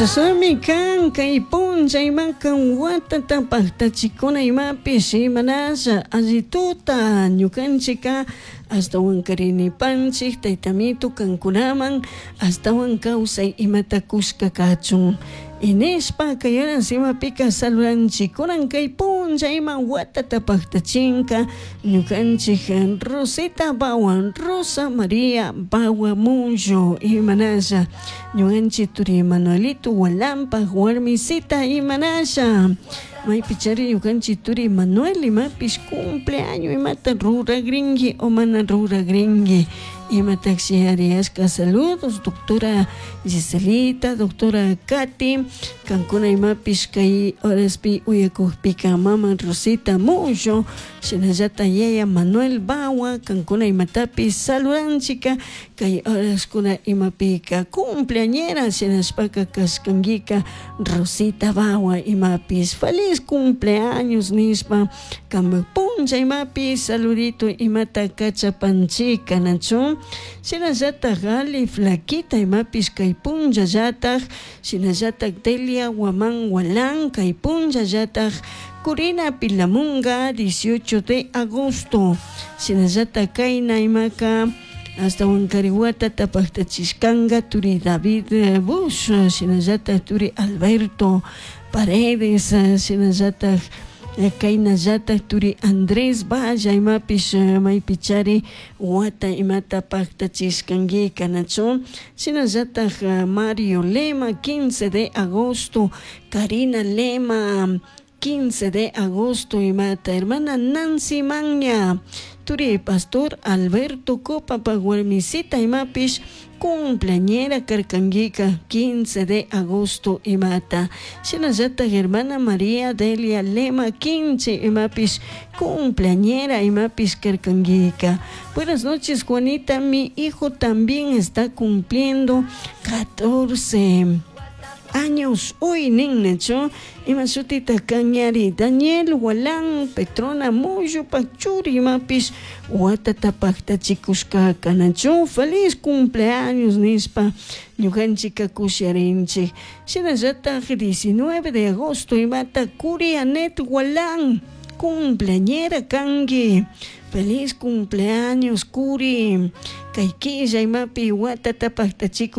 Chashnami kan kay punlla imaka watata paktachikuna imapish imanasha allituta ñukanchika ashtawan karinipanchik taytamito kankunaman ashtawan kawsay imata kushka kachun inishpa kay horas imapika saludanchikunan kay punlla ima watata paktachinka ñukanchik Rosita Bawa, Rosa María Bawa Mullo imanasha ñukanchik turi Manuelito Walampa warmisita imanasha maypichari ñukanchik turi Manuel imapish cumpleaños imata ruragrinki o mana ruragrinki imatashi ariashka. Saludos, doctora Giselita, doctora Katy, kankuna imapish kay horaspi uyakukpika mama Rosita Mullo shinallata yaya Manuel Bawa kankuna imatapish saludanchika kay horaskuna imapika cumpleañera shinashpaka kashkankika Rosita Bawa imapish feliz cumpleaños nishpa kanpak punlla imapish saludito imata kachapanchika, nachu? Shinallatak Ali Flaquita imapish kay punllallatak, shinallatak Delia Guaman Gualán kay punllallatak, Corina Pilamunga 18 de agosto, shinallatak kayna imaka ashtawan kari watata paktachishkanka turi David Bush, shinallatak turi Alberto Paredes, shinallatak kaynallatak turi Andrés Valla imapish maypichari wata imata paktachishkankika, nachu? Shinallatak Mario Lema 15 de agosto, Karina Lema 15 de agosto imata, hermana Nancy Maña, turi pastor Alberto Copapa warmisita imapish cumpleañera karkankika 15 de agosto imata, shinallatak hermana María Delia Lema 15 imapish cumpleañera imapish karkankika. Buenas noches, Juanita, mi hijo también está cumpliendo 14 años hoy nin, nachu? Ima shutita kañari? Daniel Walan, Petrona Mullo churi imapish watata paktachikushkaka, nachu? Feliz cumpleaños nishpa ñukanchika kusharinchik. Shinallatak 19 de agosto imata Curi Anet Walan cumpleañera kanki, feliz cumpleaños, Curi, kay killa imapi watata paktachikus.